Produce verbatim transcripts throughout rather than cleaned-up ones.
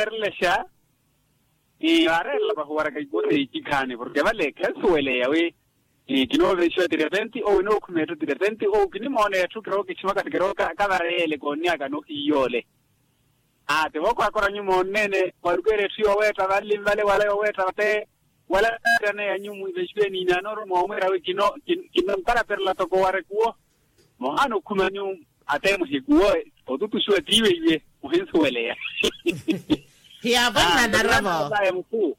erelexa. Ii vaareerela pahuwaraka ikuwo seici khaani porke vale khensuweleya wi kinoovexiwa ti repenti owu kinookhumeya etthu ti repenti owu kinimoona etthu kirookiximaka ti kirooka kavareeyele koonniyaka nohiiy'ole. Aa ti vookhwakhora nyumoonneene mwarukeerya etthu yooweetta vanli vale wala yooweetta vate wala ettane ya nyumu ivexiwe niinaanoru moomwira wi kino kinoomparaperela toko wara ekuwo. Muhaana okhumanyu ate muhikuwo otutuxiwa tiiweiwe muhinsuweleya. Hiyaapwanna naravo. Aya mutthu.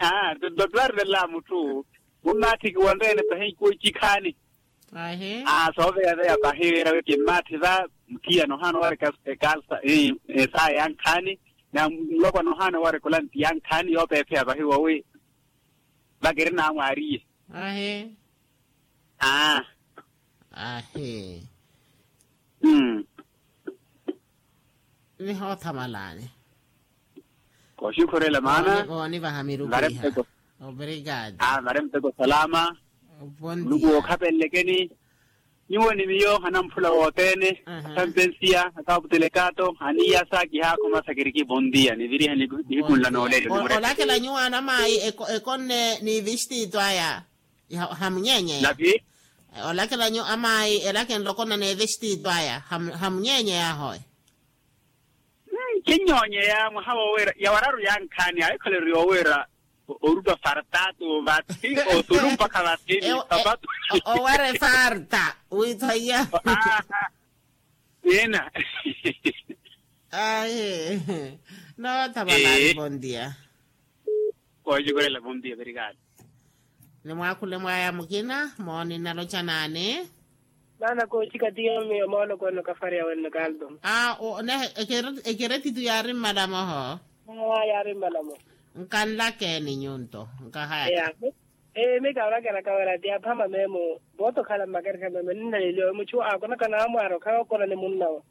Aa ti dotwari vela mutthu mummaathikiwa nreene pahi ikuwo icikhaani. Sooveyaveya pahi wira wi kimmaathi va muthiya nohaana owareka ekalsa esaya ya nkhaani na mulopwa nohaana owareka olanti ya nkhaani yoopeepheya pahi wowi vakiri naamwaariye. Ahi. Aa. Ahi. Mm. Nihoothamalani. Kooxukhurela maana. Voonivaha miruku iha. Obrigado. Aa vare muteko salama. Muluku wookhapelelekeni. Nyuwo ni miyo anamphula wothene. Asampensiya akaaputelekaato aniyasa kihaakhoma sakiriki bontiya niviriha nihiku nla noolelo. Olakela nyuwo anamaayi ekonne n'ivistito aya. Hamunyeenyeya. Olakelanyu amaayi elaka enlokona n'evestiito aya. Hamunyeenyeya ahoye. Kinyoonyeya mwaha woowiira yawararu yankhaani ahikhale ori yoowiira orupa fartatu vathi osulu mpakha vathi ni sapatu. Owara efarta withaiya. Ina. Ayi. Nootha valari bondia. Kooxukhurela bondia verikali. Nimwaakhule mwaaya mukina mooni naloca naani? Maana kooxika ti yoomi omooloko ene okafariya wenno kaldo. Aa. Ekeretitu yaari mmalamo ho. Aa yaari mmalamo. Nkanlakeeni nyunto nkahayaka. Ee mika olakelaka wira ti aphama meemo vootokhala mmakereha meemo ninnaleliwa wi muchu aakonaka naamwaara okhala okona ni munnawe.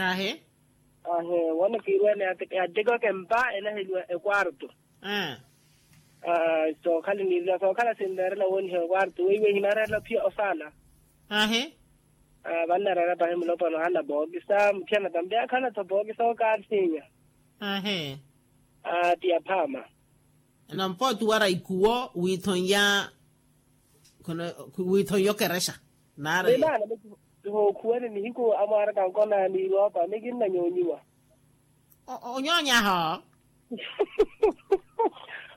Ahi. Ahi. Woona kiirweene yattekewaka empa enaheliwa ekwarto. Sookhala niirela sookhala sinreerela wooniha ekwarto weiwe hinareerela ophiya osaala. Ahi. Vannareera pahi mulopwana ohala pookisa muthiyana tambi akhala-tho pookisa okaarsinya. Ahi. Ti aphaama. Nampa otuwara ikuwo wiithon'ya. Wiithon'ya okerexa naari. Hookhuwene nihiku amwaaraka nkona niiroopa mikinnanyoonyiwa. Onyonyaho.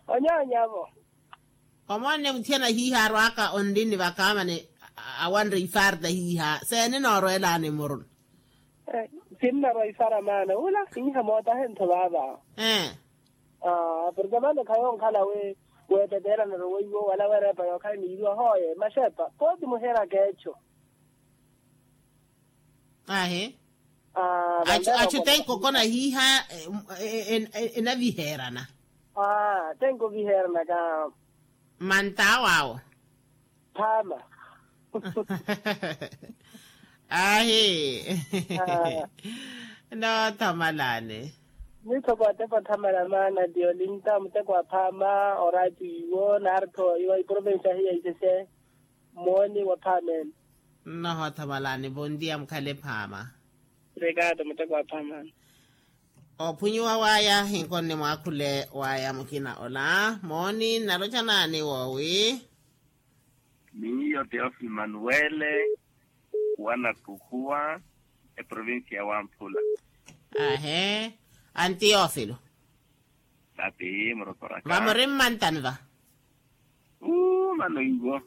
Onyonyavo. Omonne muthiyana hiiha arwaka onlini vakaamani awanre ifarta hiiha seeni noorwelaani muruna. Sinnarwa ifara maana ula hiiha mootahe ntho vaava. Porke mane khayo onkhala wi weeteteelanero weiwo wala weereepa yookhala niiriwa hooye maxepa pooti muheraka echo. Ahi. Achu tenko okona hiiha enaviheerana. Tenko oviheerana ka. Manta awo awo. Phaama. Ahi. Noothamalani. Mitho kootepa othamala maana ti olinta muteko wa phaama oraatiyo naari-tho iwa iprovensi ahiya isese. Mooni wa phaameni. Nnohoothamalani vontiya mukhale phaama. Obrigado muteko wa phaamani. Ophunyiwa waya hinkoni mwaakhule waya mukina ola mooni nnaloca naani woowi? Miyo teofilo manuwele. Wanatuhuwa eprovinsi ya wamphula. Ahe. Anteofilo. Vamuri mmantani va? Uu mano iwo.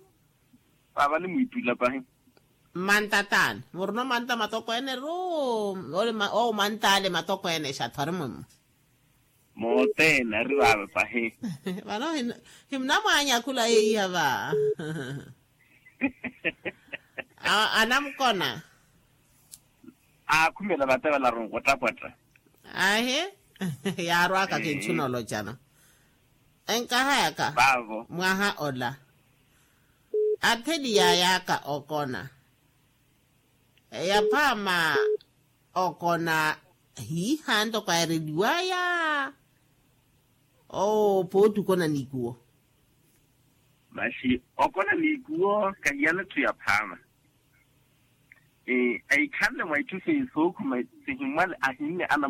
Vava nimwiittula pahi. Mmanta taani murina omanta matokweene ru? Owo manta ale matokweene exathu ari mwimmwe. Mothene ari vaava pahi. Vano himunamwaanyakhula yeiya va? Anamukona. Aakhumela vate valaru nkwatapwatta. Ahi. Yaarwaka kinchu nolocana. Enkahayaka mwaha ola atheli yaayaka okona. Eyaphaama okona hiiha ntoko aereliwaya. Oo pooti okona n'ikuwo. Masi okona n'ikuwo kahiyana etthu yaphaama. Ahikhanle mwa itthu seiyi sookhuma sihimwale ahinne ana.